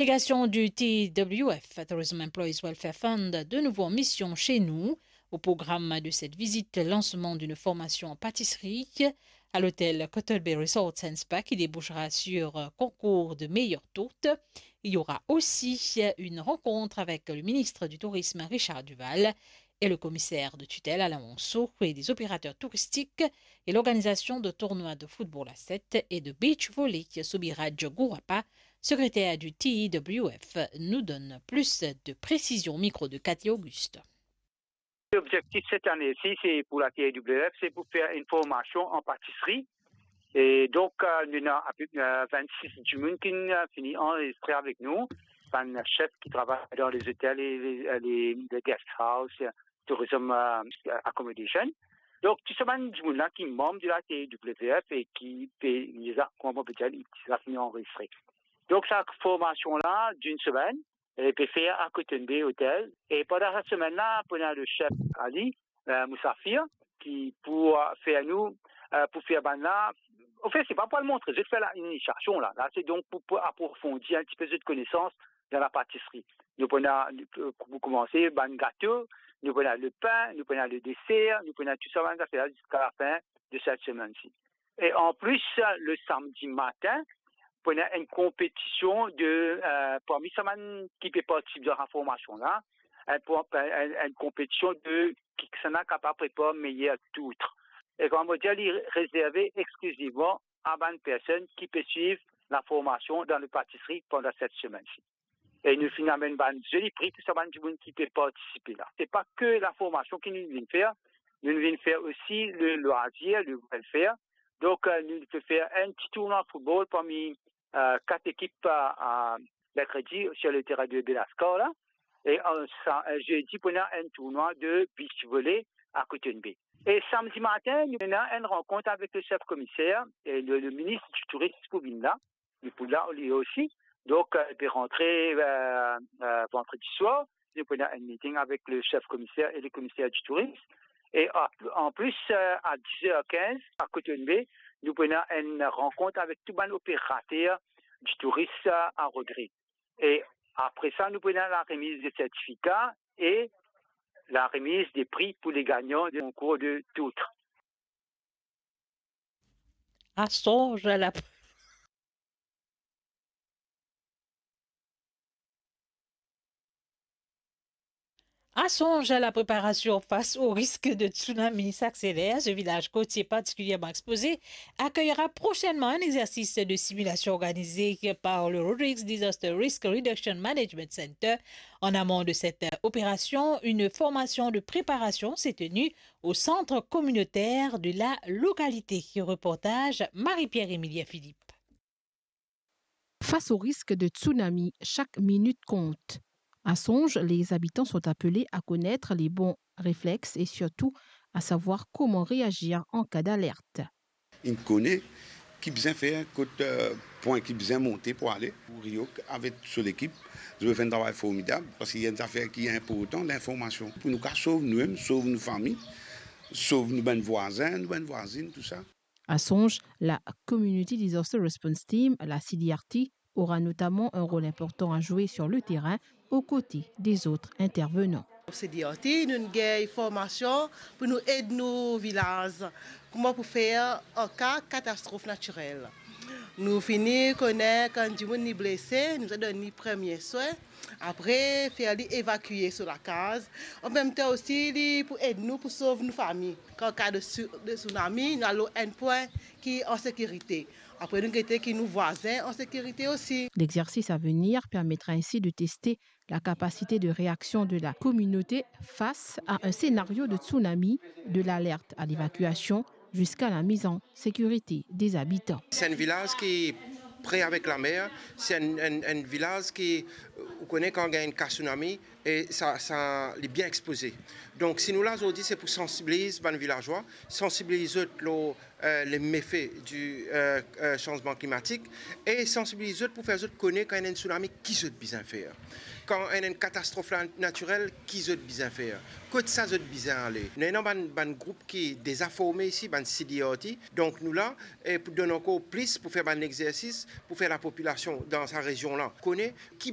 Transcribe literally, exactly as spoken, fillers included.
Délégation du T W F, Tourism Employees Welfare Fund, de nouveau en mission chez nous. Au programme de cette visite, lancement d'une formation en pâtisserie à l'hôtel Cottle Bay Resort and Spa qui débouchera sur un concours de meilleure tourte. Il y aura aussi une rencontre avec le ministre du Tourisme, Richard Duval, et le commissaire de tutelle, Alain Monceau, et des opérateurs touristiques et l'organisation de tournois de football à sept et de beach volley, Soubiraj Gourapa, secrétaire du T W F, nous donne plus de précisions au micro de Cathy Auguste. L'objectif cette année-ci, c'est pour la T W F, c'est pour faire une formation en pâtisserie. Et donc, euh, nous avons à peu près, euh, vingt-six dimoun qui, euh, fini enregistré avec nous, bann chef qui travaillent dans les hôtels et les, les, les guest house, euh, tourism, euh, accommodation. Donc, tou sa bann dimoun la ki manm de la T W F e ki pe, deza, kouma mo pe dir, deza fini anrezistre. Donk, sa formasion la, d'une semaine, e pe fer a Cotton Bay Hotel. E pandan sa semenn la, pou ena le chef Ali, euh, Mousafir, ki pou, euh, fer nou, euh, pou fer bann la, anfet, se pa pou al montre zot fer la, inisiasion la. La, se donk pou, pou aprofondi enn tipe zot konesans dan la patisri. Nou pou ena, pou koumanse, bann gato, nou pou ena le pin, nou pou ena le deser, nou pou ena tou sa bann zafer la ziska lafin de set semenn-si. E an plis, le samdi matin, pou ena enn konpetision de, euh, parmi sa bann ki pe partisip dan sa formasion la, enn, enn, enn konpetision de kisannla kapav prepar meyer tourt. E kouma mo dir, li rezerve exklizivman a bann personn ki pe swiv la formasion dan le patisri pandan set semenn-si. E nou finn amenn bann zoli pri pou sa bann dimoun ki pe partisipe la. Se pa ke la formasion ki nou vinn fer, nou vinn fer osi le lwazir, le welfare. Donk, euh, nou pe fer enn ti tournwa football parmi, euh, kat ekip, euh, euh, merkredi sur le terrain de Belascar la. E, euh, sa, euh, zedi pou ena enn tournwa de beach volley a Cotton Bay. E samdi matin, nou ena enn rankont avek le chef komiser e le, le minis di tourism pou vinn la. Li pou la, li osi. Donk, euh, li pe rantre, euh, euh, vandredi swar. Nou pou ena enn meeting avek le chef komiser e le komiser di tourism. E a, an plis, euh, a diz er kinz, a Cotton Bay, nou pou ena enn rankont avek tou bann operater di tourism, euh, a Rodrigues. E apre sa, nou pou ena la remiz de sertifika e la remiz de pri pou le gagnan de konkour de tourte. À songe à la, à songe à la préparation face au risque de tsunami s'accélère. Ce village côtier particulièrement exposé accueillera prochainement un exercice de simulation organisé par le Rodrigues Disaster Risk Reduction Management Center. En amont de cette opération, une formation de préparation s'est tenue au centre communautaire de la localité. Reportage Marie-Pierre Émilien Philippe. Face au risque de tsunami, chaque minute compte. À Songe, les habitants sont appelés à connaître les bons réflexes et surtout à savoir comment réagir en cas d'alerte. Inn kone ki bizin fer, kot, euh, pwin ki bizin monte pou ale. Pou Riok avek so lekip, zot finn travay formidab, parski enn zafer ki inportan, linformasion. Pou nou kapav sov noumem, sov nou fami, sov nou bann vwazin, nou bann vwazinn, tou sa. À Songe, la Community Disaster Response Team, la C D R T, aura notamment un rôle important à jouer sur le terrain aux côtés des autres intervenants. C D R T, nou gagn formasion pou nou ed nou vilaz kouma pou fer an ka katastrof natirel. Nou fini kone kan dimoun li blese, nou bizin donn li premie swin, apre fer li evakie so lakaz. An mem tan osi, li pou ed nou pou sov nou fami. Kan ka de su-, de tsunami, nou al lor enn pwin ki an sekirite. Apre nou gete ki nou vwazin an sekirite osi. L'exercice à venir permettra ainsi de tester la capacité de réaction de la communauté face à un scénario de tsunami, de l'alerte à l'évacuation jusqu'à la mise en sécurité des habitants. Se enn vilaz ki pre avek lamer, se enn, enn, enn vilaz ki, ou kone kan gagn enn ka tsunami, e sa, sa, li bien expoze. Donk, si nou la zordi, se pou sansibiliz bann vilazwa, sansibiliz zot lor, euh, le mefe di, euh, euh, sanzman klimatik e sansibiliz zot pou fer zot kone kan ena enn tsunami, ki zot bizin fer. Kan ena enn katastrof la, natirel, ki zot bizin fer. Kot sa zot bizin ale. Nou ena bann, bann group ki deza forme isi, bann C D R T. Donk, nou la, e pou donn ankor plis, pou fer bann exersis, pou fer lapopilasion dan sa rezion la kone ki